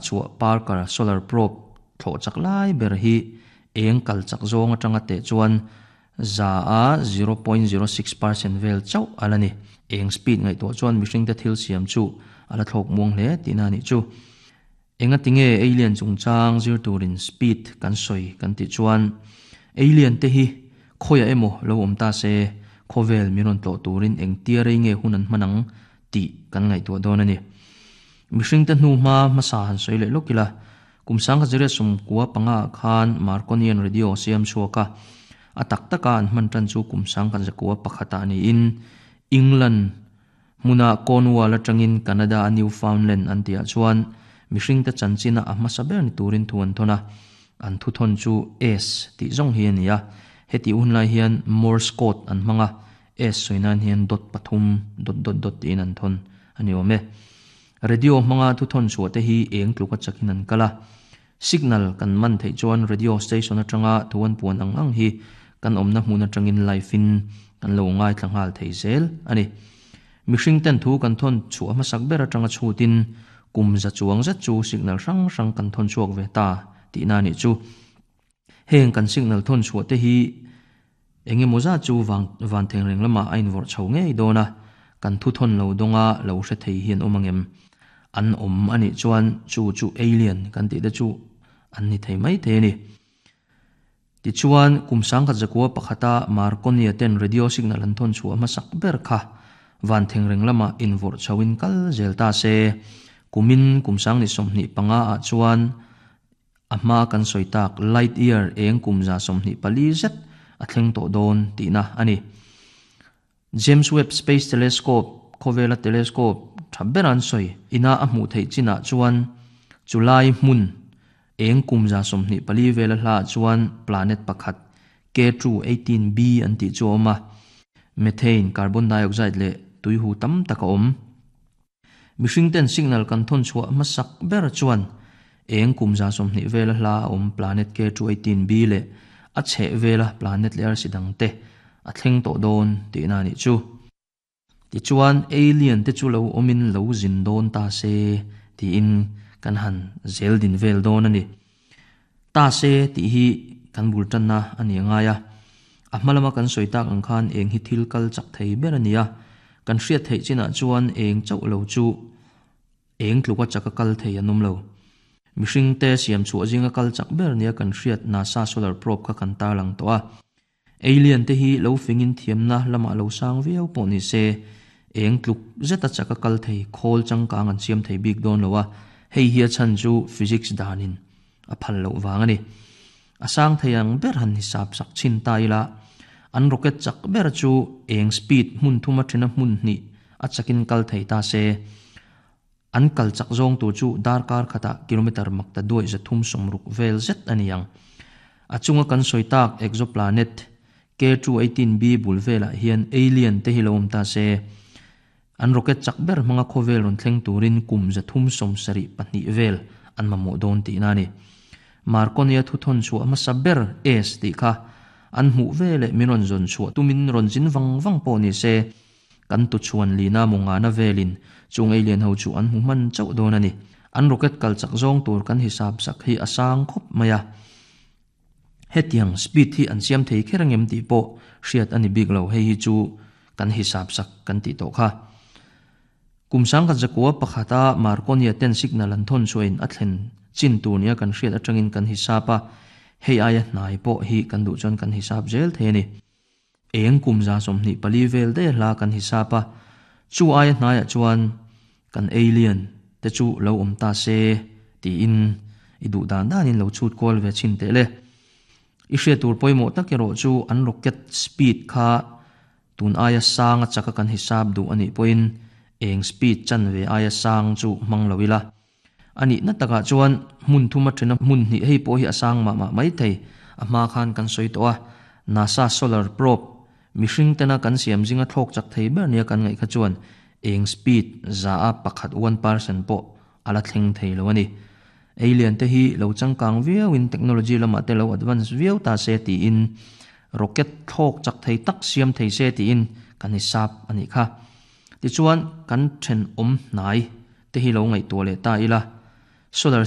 chhuah Parker Solar Probe thlawh chak lai ber hi eng kal chak zawng atanga teh chuan 100 a 0.06% vel chauh a la ni. Eng speed ngaihtuah chuan mihringte thil siam chu a la thlawk muang hle tihna a nih chu. Engati nge alien chungchang zir turin speed kan sawi kan tih chuan alien te hi khawiah emaw lo awm ta se khawvel min rawn tlawh turin engtia rei nge hun an hman ang tih kan ngaihtuah dawn a ni. Mihringte hnu hma hmasa han sawi leh lawk ila, kum 1995 ah khan Marconian radio siam chhuak a, a tak taka an hman tan chu kum 1901 ah niin England hmuna Cornwall atangin Canada a Newfoundland an tihah chuan mihringte chanchina a hmasa ber ni turin thu an thawn a, an thuthawn chu S tih zawng hi a ni a, hetih hunlai hian Morse code an hmang a, S sawi nan hian dot pathum dot dot dot tiin an thawn a ni awm e. Radio hmanga thuthawn chhuah te hi eng tluka chakin an kal a. Signal kan man theih chuan radio station atanga thu an puan ang ang hi kan awmna hmun atangin live in kan lo ngaithla nghal thei zel a ni. Mihring ten thu kan thawn chhuah hmasak ber atanga chhutin kum za chuang zet chu signal hrang hrang kan thawn chhuak ve ta tihna a nih chu. Heng kan signal thawn chhuah te hi eng emaw zat chu vang van theng reng lamah a invawrh chho ngei dawn a, kan thu thawn lo dawnga lo hre thei hi an awm angem? An awm a nih chuan chu chu alien kan tih te chu an ni thei mai thei a ni. Tichuan, kum 1901a Marconi-a ten radio signal an thawn chhuah hmasak ber kha van theng reng lamah invawrh chhoin kal zel ta se, kumin kum 2025 ah chuan A hma kan sawi tak light year eng kum 24 zet a thleng tawh dawn tihna a ni. James Webb Space Telescope, khawvela telescope tha ber an sawi ina a hmuh theih chinah chuan chulai hmun eng kum 24 vela hlaah chuan planet pakhat K2-18b an tih chu a awm a, methane, carbon dioxide leh tuihu tam tak a awm. Mihring ten signal kan thawn chhuah hmasak ber chuan eng kum 20 vela hla a awm planet K2-18b leh a chheh vela planet leh arsi dang te a thleng tawh dawn tihna a nih chu. Tichuan alien te chu lo awmin lo zin dawn ta se tiin kan han zel din vel dawn a ni. Ta se tih hi kan bul tanna a ni a ngai a. A hma lama kan sawi tak ang khan eng hi thil kal chak thei ber a ni a. Kan hriat theih chinah chuan eng chauh lo chu eng tluka chaka kal thei an awm lo. Mihring te siam chhuah zinga kal chak ber nia kan hriat NASA solar probe kha kan tarlang tawh a. Alien te hi lo fingin thiamna lamah lo sang viau pawh ni se, eng tluk zeta chaka kal thei khawl changkang an siam thei bik dawn lo a, hei hi a chhan chu physics danin a phal loh vang a ni. A sang thei ang ber han hisap sak chhin ta ila, an rocket chak ber chu eng speed hmun thum a thina hmun hnih a chakin kal thei ta se, an kal chak zawng tur chu darkar khatah kilometre makta duai 360 vel zet a ni ang. A chunga kan sawi tak exoplanet K2-18b bul velah hian alien te hi lo awm ta se, an rocket chak ber hmanga khawvel rawn thleng turin kum 372 vel an mamawh dawn tihna a ni. Marconi-a thuthawn chhuah hmasa ber S tih kha an hmuh veleh min rawn zawn chhuah tumin rawn zin vang vang pawh ni se, Kan tuchhuan lina mawngana velin chung alien ho chu an hmu hman chauh dawn a ni. An rocket kal chak zawng tur kan hisap sak hi a sang khawp mai a. Hetiang speed hi an siam thei kher angem tih pawh hriat a ni bik lo, hei hi chu kan hisap sak kan tih tawh kha. Kum 1901 a Marconi-a ten signal an thawn chhuahin a thlen chin tur nia kan hriat atangin kan hisap a, hei aia hnai pawh hi kan duh chuan kan hisap zel thei a ni. Eng kum 24 vel daih hla kan hisap a, chu aia hnaiah chuan kan alien te chu lo awm ta se tiin i duh dan danin lo chhut kual ve chhin teh le. I hriat tur pawimawh tak erawh chu an rocket speed kha tun aia sang a chaka kan hisap duh a nih pawhin eng speed chan ve aia sang chu hmang lo ila. A nihna takah chuan hmun thum a then a, hmun hnih hei pawh hi a sang mah mah mai thei. A hma khan kan sawi tawh a, NASA solar probe mihring tena kan siam zinga thlawk chak thei ber nia kan ngaih kha chuan eng speed 1% 1% pawh a la thleng thei lo a ni. Alien te hi lo changkang viauin technology lamah te lo advance viau ta se tiin rocket thlawk chak thei tak siam thei se tiin kan hisap a nih kha. Tichuan kan thenawm hnai te hi lo ngaihtuah leh ta ila, solar.